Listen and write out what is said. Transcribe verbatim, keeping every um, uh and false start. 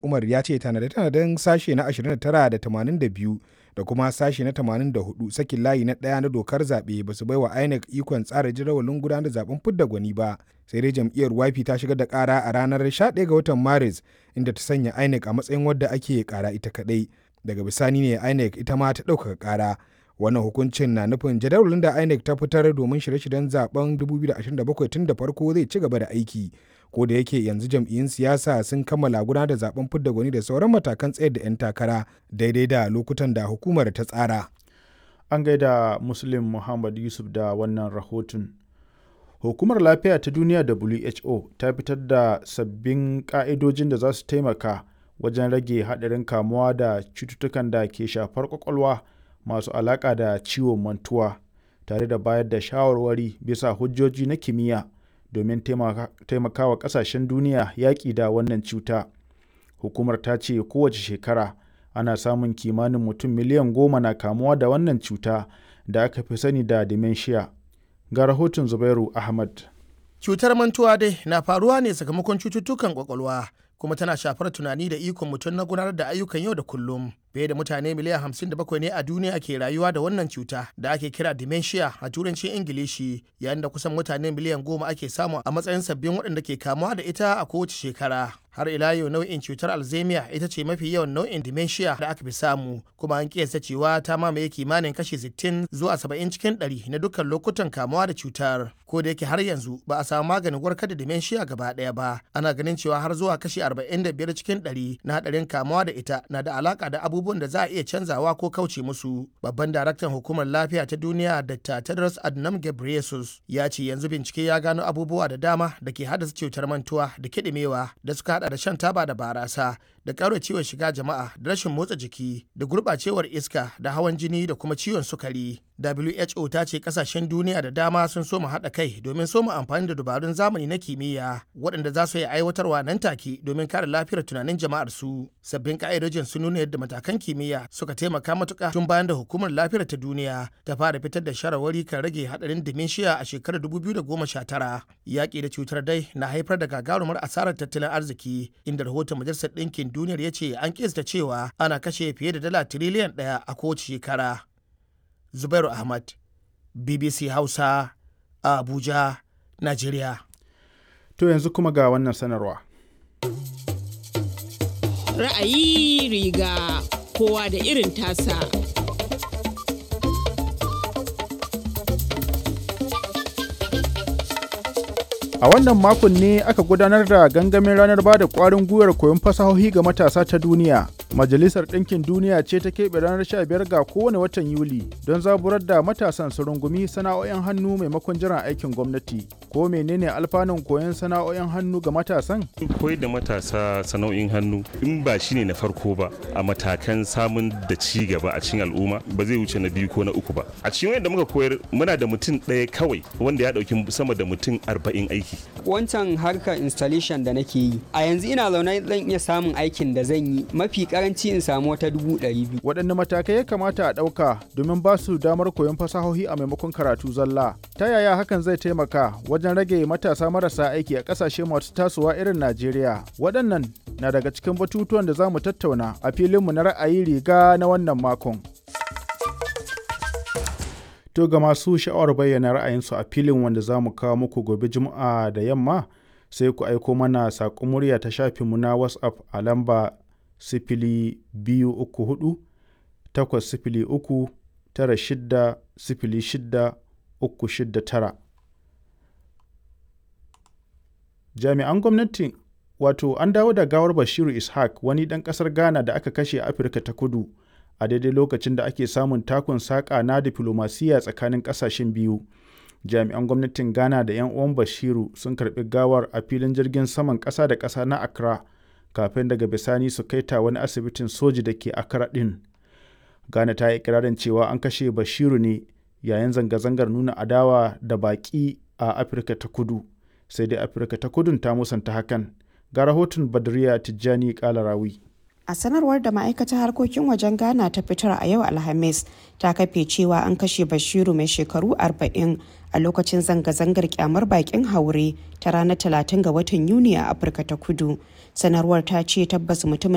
Umar ya ce tanade-tanaden sashe na ashirin da tara da tamanin da biyu da kuma sashe na tamanin da hudu sakin layi na ɗaya na dokar zaɓe ba su baiwa INEC ikon tsara jadawalin gudanar da zaben fidda gwani ba. Sai dai jam'iyyar Y P ta shigar da ƙara a ranar sha ɗaya ga watan Maris, inda ta sanya INEC a matsayin wadda ake ƙara ita kaɗai. Daga bisani ne INEC ita ma ta ɗaukaka ƙara. Wannan hukuncin na nufin jadawalin da INEC ta fitar domin shirye-shiryen zaben dubu biyu da ashirin da bakwai tun da farko zai ci gaba da aiki. Ko da yake yanzu jam'iyyun siyasa sun kammala gudanar da zaben fidda gwani da sauran matakan tsayar da 'yan takara daidai da lokutan da hukumar ta tsara. An gaida Muslim Muhammad Yusuf da wannan rahoton. Hukumar Lafiya ta Duniya W H O ta fitar da sabbin ƙa'idojin da za su taimaka wajen rage haɗarin kamuwa da cututtukan da ke shafar ƙwaƙwalwa masu alaƙa da ciwon mantuwa, tare da bayar da shawarwari bisa hujjoji na kimiyya domin taimakawa ƙasashen duniya yaƙi da wannan cuta. Hukumar ta ce kowace shekara ana samun kimanin mutum miliyan goma na kamuwa da wannan cuta da aka fi sani da dementia. Ga rahoton Zubairu Ahmad. Cutar mantuwa dai na faruwa ne sakamakon cututtukan kwakwalwa, kuma tana shafar tunani da ikon mutum na gudanar da ayyukan yau da kullum. Fiye da mutane miliyan hamsin da bakwai ne a duniya ke rayuwa da wannan cuta da ake kira dementia a turancin Ingilishi, yayin da kusan mutane miliyan goma ake samu a matsayin sabbin waɗanda ke kamuwa da ita a kowace shekara. Har ila yau, nau'in cutar Alzheimer ita ce mafi yawan nau'in dementia da aka fi samu, kuma an kiyasta cewa ta mamaye kimanin kashi sittin zuwa saba'in cikin ɗari na dukkan lokutan kamuwa da cutar. Ko da yake har yanzu ba a samu maganin warkar da dementia gaba ɗaya ba, ana ganin cewa har zuwa kashi arba'in da biyar cikin ɗari na haɗarin kamuwa da ita na da alaka da abubuwan da za a iya canzawa ko kauce musu. Babban daraktan Hukumar Lafiya ta Duniya, Doctor Tedros Adhanom Ghebreyesus, ya ce yanzu bincike ya gano abubuwa da dama da ke haddasa cutar mantuwa da kiɗimewa, da suka hada da shan taba da barasa da ƙara ciwon shiga jama'a da rashin motsa jiki da gurɓacewar iska da hawan jini da kuma ciwon sukari. W H O ta ce kasashen duniya da dama sun soma haɗa kai domin soma amfani da dabarun zamani na kimiyya waɗanda za su iya aiwatarwa nan take domin kare lafiyar tunanin jama'ar su. Sabbin ka'idojin sun nuna yadda matakan kimiyya suka taimaka matuƙa tun bayan da Hukumar Lafiyar ta Duniya ta fara fitar da shawarwari kan rage haɗarin dementia a shekarar dubu biyu da goma sha tara. Yaƙi da cutar dai na haifar da gagarumar asarar tattalin arziki, inda rahoton Majalisar Ɗinkin Duniyar ya ce an kista cewa ana kashe fiye da dala tiriliyan ɗaya a kowace shekara. Zubairu Ahmad, B B C Hausa, a Abuja, Najeriya. To, yanzu kuma ga wannan sanarwa. Ra'ayi riga kowa da irin tasa. A wannan makon ne aka gudanar da gangamin ranar bada ƙwarin gwiwar koyon fasahohi ga matasa ta duniya. Majalisar Ɗinkin Duniya ce ta keɓe ranar sha biyar ga kowane watan Yuli don zaburar da matasan su rungumi sana'o'in hannu maimakon jiran aikin gwamnati. Ko menene alfanun koyon sana'o'in hannu ga matasan? Koyar da matasa sana'o'in hannu, in ba shi ne na farko ba a matakan samun da ci gaba a cikin al'umma, ba zai wuce na biyu ko na uku ba. A cikin wanda muka koyar, muna da mutum ɗaya kawai wanda ya ɗauki sama da mutum arba'in aiki. Wancan harkar installation da nake yi a yanzu, ina zaune zan iya samun aikin da zan yi mafi karanci in samu wata dubu ɗari biyu. Waɗanne matakai ya kamata a ɗauka domin ba su damar koyon fasahohi a maimakon karatu zalla? Ta yaya hakan zai taimaka wajen rage matasa marasa aiki a ƙasashe masu tasowa irin Najeriya? Waɗannan na daga cikin batutuwan da za mu tattauna a filinmu na ra'ayi riga na wannan makon. To, ga masu sha'awar bayyana ra'ayinsu a filin wanda za mu kawo muku gobe Juma'a da yamma, sai ku aiko mana saƙon murya ta shafinmu na WhatsApp a lamba sifili biyu uku hudu takwas sifili uku tara shida sifili shida uku shida tara. Jami'an gwamnati, wato an dawo da gawar Bashiru Ishaq, wani ɗan ƙasar Ghana da aka kashe a Afirka ta Kudu, a daidai lokacin da ake samun takun saƙa na diflomasiyya tsakanin ƙasashen biyu. Jami'an gwamnatin Ghana da 'yan uwan Bashiru sun karɓi gawar a filin jirgin saman ƙasa da ƙasa na Accra kafin daga bisani su kai ta wani asibitin soji da ke Accra ɗin. Ghana ta yi ikirarin cewa an kashe Bashiru ne yayin zanga-zangar nuna adawa da baƙi a Afirka ta Kudu. Sai dai Afirka ta Kudun ta musanta hakan. Ga rahoton Badriya Tijjani Kalarawi. A sanarwar da ma'aikatar harkokin wajen Ghana ta fitar a yau Alhamis, ta kafe cewa an kashe Bashiru mai shekaru arba'in a lokacin zanga-zangar kyamar bakin haure ta ranar talatin ga watan Yuni a Afirka ta Kudu. Sanarwar ta ce tabbas mutumin